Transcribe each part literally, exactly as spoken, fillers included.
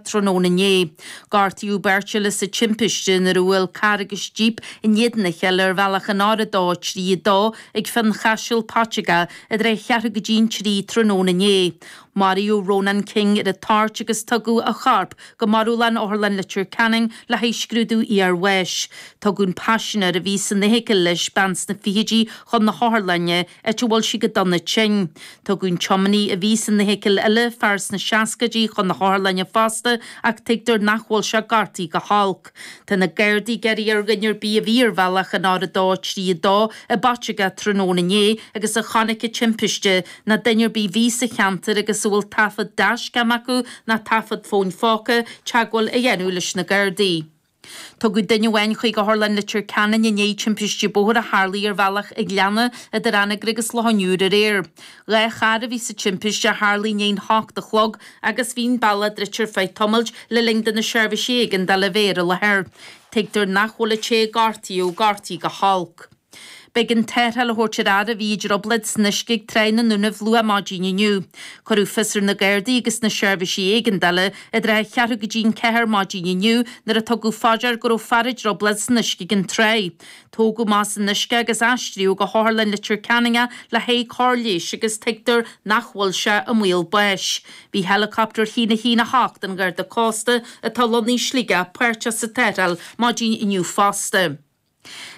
tráthnóna inné. Gortaíodh beirt eile sa timpiste nuair a bhuail carr agus jíp in éadan a chéile ar bhealach an R a dó trí a dó ag Fionchaiseal Paiteagó idir a cheathrú go dtí an trí tráthnóna inné. Maraíodh Ronan King ar an toirt agus tugadh a chorp go marbhlann Otharlann Leitir Ceanainn le haghaidh scrúdú iarbháis. Tugadh an paisinéir a bhí san fheithicil leis bean sna fichidí chun na hotharlainne áit a bhfuil sí go dona tinn. Tugadh an tiománaí a bhí san fheithicil eile fear sna seascaidí chun na hotharlainne fosta ach tuigtear nach bhfuil sé gortaithe go holc. Tá na Gardaí ag iarraidh ar dhuine ar bith a bhí ar bhealach an R a dó trí a dó i bPaiteagó tráthnóna inné agus a chonaic an timpiste nó duine ar bith a bhí sa cheantar agus a bhfuil taifead dashcam acu nó taifead fóin phóca teagmháil a dhéanamh leis na Gardaí. Tugadh duine amháin chuig Otharlann Leitir Ceanainn i ndiaidh timpiste bóthair a tharlaigh ar bhealach an Ghleanna idir Anagaire agus Loch an Iúir aréir. Dhá charr a bhí sa timpiste a tharlaigh i ndiaidh a hocht a chlog agus bhí an bealach druidte ar feadh tamaill le linn do na seirbhísí éigeandála a bheith ar an láthair. Tuigtear nach bhfuil an té a gortaíodh gortaithe go holc. B'éigean tarrtháil a thabhairt ar fhear a bhí i dtrioblóid san uisce ag Tráigh na nDúnaibh luath maidin inniu. Cuireadh fios ar na Gardaí agus na seirbhísí éigeandála idir a cheathrú go dtí an ceathair maidin inniu nuair a tugadh faoi deara go raibh fear i dtrioblóid san uisce ag an tráigh. Tógadh amach as an uisce agus aistríodh go hOtharlann Leitir Ceanainn é le haghaidh cóir leighis agus tuigtear nach bhfuil sé i mbaol báis. Bhí helicopter a haon a haon a hocht an Gharda Cósta atá lonnaithe i Sligeach páirteach sa tarrtháil maidin inniu fosta.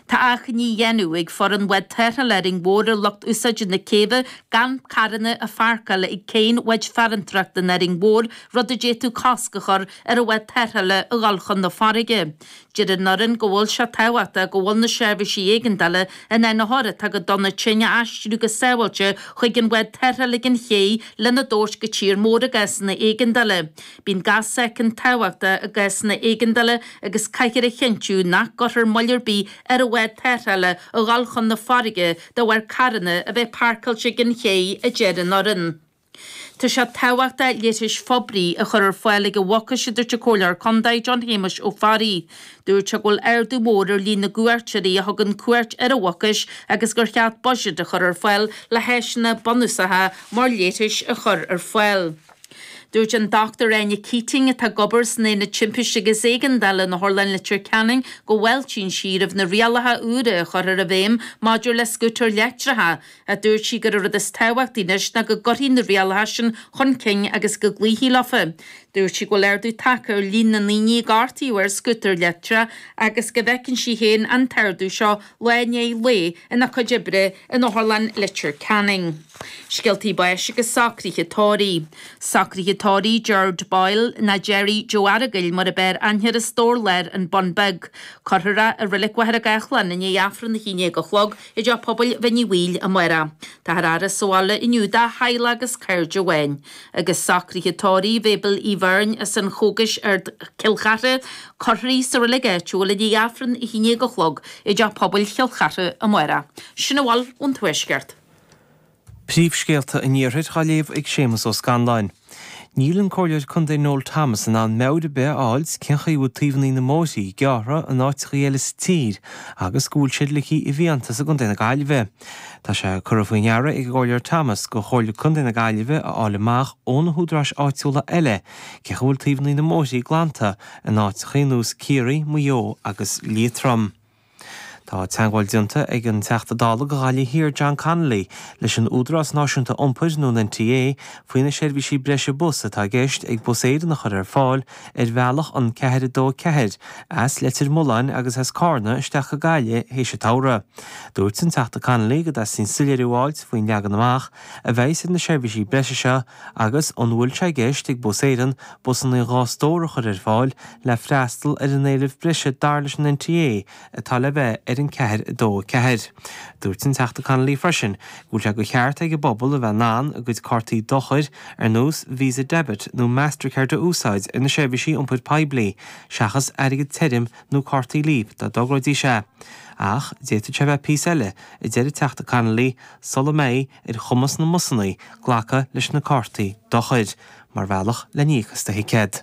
Tá achainí á dhéanamh ag foireann bhád tarrthála Árainn Mhór ar lucht úsáide na céibhe gan carranna a pháirceáil ag céidh bháid farantóireachta in Árainn Mhór, rud a d'fhéadfadh cosc a chur ar an bhád tarrthála a dhul chun na farraige. Deir an fhoireann go bhfuil sé tábhachtach go bhfuil na seirbhísí éigeandála in ann othair atá go dona tinn a aistriú go sábháilte chuig an bhád tarrthála ag an chéidh lena dtabhairt go tír mór i gcásanna éigeandála. Bíonn gach soicind tábhachtach i gcásanna éigeandála agus caithfear a chinntiú nach gcuirfear moill ar bith ar an bhád tarrthála a dhul chun na farraige de bharr carranna a bheith páirceáilte ag an chéidh a deir an fhoireann. Tá sé tábhachtach leithris phoiblí a chur ar fáil ag an Mhucais a dúirt an Comhairleoir Contae John Shéamuis Ó Fearraigh. Dúirt sé go bhfuil ardú mór ar líon na gcuairteoirí a thugann cuairt ar an Mhucais agus gur cheart buiséad a chur ar fáil le háiseanna bunúsacha mar leithris a chur ar fáil. Dúirt an Dr Áine Keating atá ag obair san Aonad Timpiste agus Éigeandála in Otharlann Leitir Ceanainn go bhfáiltíonn sí roimh na rialacha úra a chur ar a bhfeidhm maidir le scútair leictreacha, a dúirt sí gur an rud is tábhachtaí anois ná go gcuirfí na rialacha sin chun cinn agus go gcloífí leofa. Dúirt sí go bhfuil ardú tagtha ar líon na ndaoine a gortaíodh ar scútar leictreach agus go bhfeiceann sí féin an t-ardú seo lá i ndiaidh lae ina cuid oibre in Otharlann Leitir Ceanainn. Scéaltaí báis agus socruithe tórraimh. Socruithe tórraimh Gerard Boyle nó Jerry Joe Aragail mar ab fhearr aithne air as Dobhar Láir an Bun Beag. Cuirfear é i Reilig Mhachaire Gathlán i ndiaidh Aifreann a haon déag a chlog i dteach pobail Bhinn Uí Bhaoill amárach. Táthar á fhaire sa bhaile inniu dá theaghlach agus cairde amháin. Agus socruithe tórraimh Mabel Uí Bheirn as an Chógais ar Chill Chartha, cuirfear í sa reilig áitiúil i ndiaidh Aifreann a haon déag a chlog i dteach pobail Chill Chartha amárach. Sin a bhfuil ón Tuaisceart. Príomhscéalta an Iarthair á léamh ag Séamus Ó Scanláin. Níl an Comhairleoir Contae Noel Thomas in ann meabhair ar bith a fháil cén chaoi a bhfuil taobhanna na mbóithre gearrtha in áiteacha eile sa tír agus go bhfuil siad ligthe i bhfiántas i gContae na Gaillimhe. Tá sé curtha faoi ndeara ag an gComhairleoir Thomas gur Chomhairle Contae na Gaillimhe a fháil amach ó na húdaráis áitiúla eile cén chaoi a bhfuil taobhanna na mbóithre glanta in áiteacha ar nós Ciarraí, Maigh Eo agus Liatroim. Tá teagmháil déanta ag an Teachta Dála do Ghaillimh Thiar John Connolly leis an Údarás Náisiúnta Iompair nó an NTA faoi na seirbhísí breise bus atá i gceist ag Bus Éireann a chur ar fáil ar bhealach an ceathair dó ceathair as Leitir Mealláin agus as Carna isteach go Gaillimh théis an tsamhraidh. Dúirt an Teachta Connolly go dteastaíonn soiléiriú a fháil faoin leagan amach a bheidh ar na seirbhísí breise seo agus an bhfuil sé i gceist ag Bus Éireann busanna dhá stór a chur ar fáil le freastal ar an éileamh breise dar leis an NTA atá le bheith ar an ceathair dó ceathair. Dúirt an Teachta Connolly freisin go bhfuil sé de cheart ag an bpobal a bheith in ann a gcuid cártaí dochair ar nós Visa Debit nó Mastercard a úsáid ar na seirbhísí iompair poiblí, seachas airgead tirim nó cártaí Leap dá dtogróidís é. Ach d'fhéadfadh sé bheith píosa eile a deir an Teachta Connolly sula mbeidh ar chumas na mbusanna glacadh leis na cártaí dochair, mar bhealach le n-íoc as do thicéad.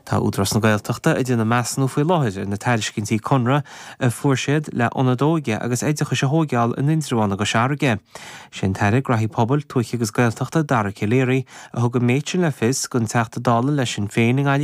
Tá Údarás na Gaeltachta ag déanamh measúnú faoi láthair ar na tairiscintí conradh a fuair siad le ionad óige agus oideachais a thógáil in Indreabhán i gCois Fharraige. Sin tAire Gnóthaí Pobail, Tuaithe agus Gaeltachta Dara Calleary a thug an méid sin le fios don Teachta Dála le Sinn Féin i nGaillimh